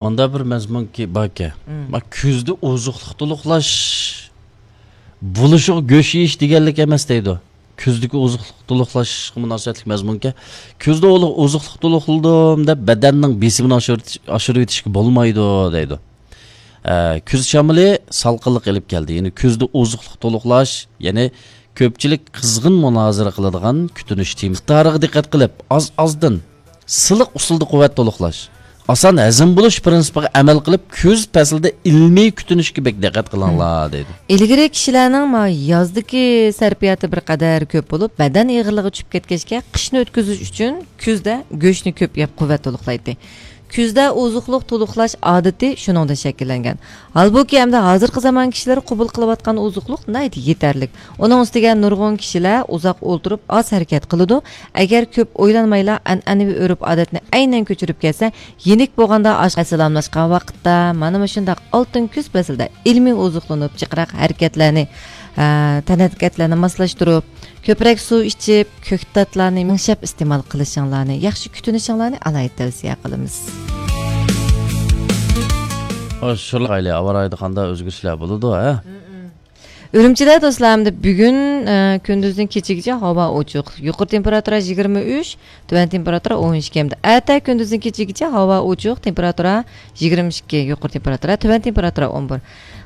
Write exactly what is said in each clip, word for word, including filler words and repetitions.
مۇندا بىر مەزمۇنكى باركەن. مم. ما كۈزدە ئوزۇقلۇق تولۇقلاش بولۇشىغا گۆش يېيىش دېگەنلىك ئەمەس دەيدۇ. كۈزدىكى ئوزۇقلۇق تولۇقلاشقا مۇناسىۋەتلىك مەزمۇنكەن. كۈزدە ئوزۇقلۇق تولۇقلىدىم دەپ بەدەننىڭ بېسىمىنى ئاشۇرۇۋېتىش-، ئاشۇرۇۋېتىشكە بولمايدۇ دەيدۇ. ئە، كۈز شامىلى سالقىنلىق ئېلىپ كەلدى. يەنى كۈزدە ئوزۇقلۇق تولۇقلاش، يەنى كۆپچىلىك قىزغىن مۇنازىرە قىلىدىغان كۈتۈنۈش تېمىسى. مىقدارىغا دىققەت قىلىپ، ئاز-ئازدىن، سىلىق ئۇسۇلدا قۇۋۋەت تولۇقلاش، ئاسان ھەزىم بولۇش پىرىنسىپىغا ئەمەل قىلىپ، كۈز پەسلىدە ئىلمىي كۈتۈنۈشكە بەك دىققەت قىلىڭلار، دەيدۇ. ئىلگىرى كىشىلەرنىڭ ما يازدىكى سەرپىياتى بىر قەدەر كۆپ بولۇپ، بەدەن ئېغىرلىقى چۈشۈپ كەتكەچكە، قىشنى ئۆتكۈزۈش ئۈچۈن كۈزدە گۆشنى كۆپ يەپ قۇۋۋەت تولۇقلايتتى. كۈزدە ئوزۇقلۇق تولۇقلاش ئادىتى شۇنىڭدىن شەكىللەنگەن. ھالبۇكى، ئەمدى ھازىرقى زامان كىشىلىرى قوبۇل قىلىۋاتقان ئوزۇقلۇق ناھايىتى يېتەرلىك. ئۇنىڭ ئۈستىگە نۇرغۇن كىشىلەر ئۇزاق ئولتۇرۇپ، ئاز ھەرىكەت قىلىدۇ. ئەگەر كۆپ ئويلانمايلا ئەنئەنىۋى ئۆرپ-ئادەتنى ئەينەن كۆچۈرۈپ كەلسە، يېنىك بولغاندا ئاشقا سالاملاشقان ۋاقىتتا، مانا مۇشۇنداق ئالتۇن كۈز پەسلىدە ئىلمىي ئوزۇقلىنىپ، جىقراق ھەرىكەتلەرنى، ئە، تەنھەرىكەتلەرنى ماسلاشتۇرۇپ، كۆپرەك سۇ ئىچىپ، كۆكتاتلارنى مىڭشەپ ئىستېمال قىلىشىڭلارنى، ياخشى كۈتۈنۈشۈڭلارنى ئالاھىدە تەۋسىيە قىلىمىز. ئاشۇ ئايلى ھاۋا رايىدا قانداق ئۆزگىرىشلەر بولىدۇ، ھە؟ ئۈرۈمچىدە دوستلار، ئەمدى بۈگۈن، ئە، كۈندۈزدىن كېچىگىچە ھاۋا ئوچۇق. يۇقىرى تېمپېراتۇرا يىگىرمە ئۈچ، تۆۋەن تېمپېراتۇرا ئون ئىككى. ئەمدى ئەتە كۈندۈزدىن كېچىگىچە ھاۋا ئوچۇق، تېمپېراتۇرا يىگىرمە ئىككى، يۇقىرى تېمپېراتۇرا، تۆۋەن تېمپېراتۇرا ئون بىر.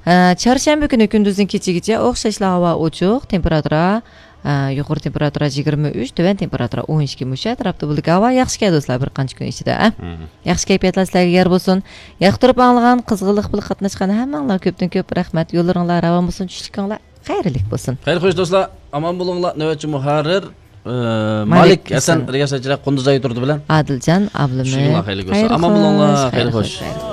ئە، چارشەنبە كۈنى كۈندۈزدىن كېچىگىچە ئوخشاشلا ھاۋا ئوچۇق، تېمپېراتۇرا، ئە، يۇقىرى تېمپېراتۇرا يىگىرمە ئۈچ، تۆۋەن تېمپېراتۇرا ئون ئىككى. مۇشۇ ئەتراپتا بولىدىكەن. ھاۋا ياخشىكەن دوستلار، بىر قانچە كۈن ئىچىدە، ئە؟ مم. ياخشى كەيپىياتلار سىلەرگە يار بولسۇن. ياقتۇرۇپ ئاڭلىغان، قىزغىنلىق بىلەن قاتناشقان ھەممىڭلارغا كۆپتىن كۆپ رەھمەت. يوللىرىڭلار راۋان بولسۇن، چۈشلۈكۈڭلار خەيرلىك بولسۇن. خەير خوش دوستلار، ئامان بولۇڭلار. نۆۋەتچى مۇھەررىر، ئە، مالىك مالىك ھەسەن، ھەسەن. رىياسەتچىلەر قۇندۇز ئايى تۇردى بىلەن. ئادىلجان ئابلىمىت. چۈشۈكۈڭلار خەيرلىك بولسۇن. خەير ئامان بولۇڭلار. خوش، خەير خەير خوش. خوش.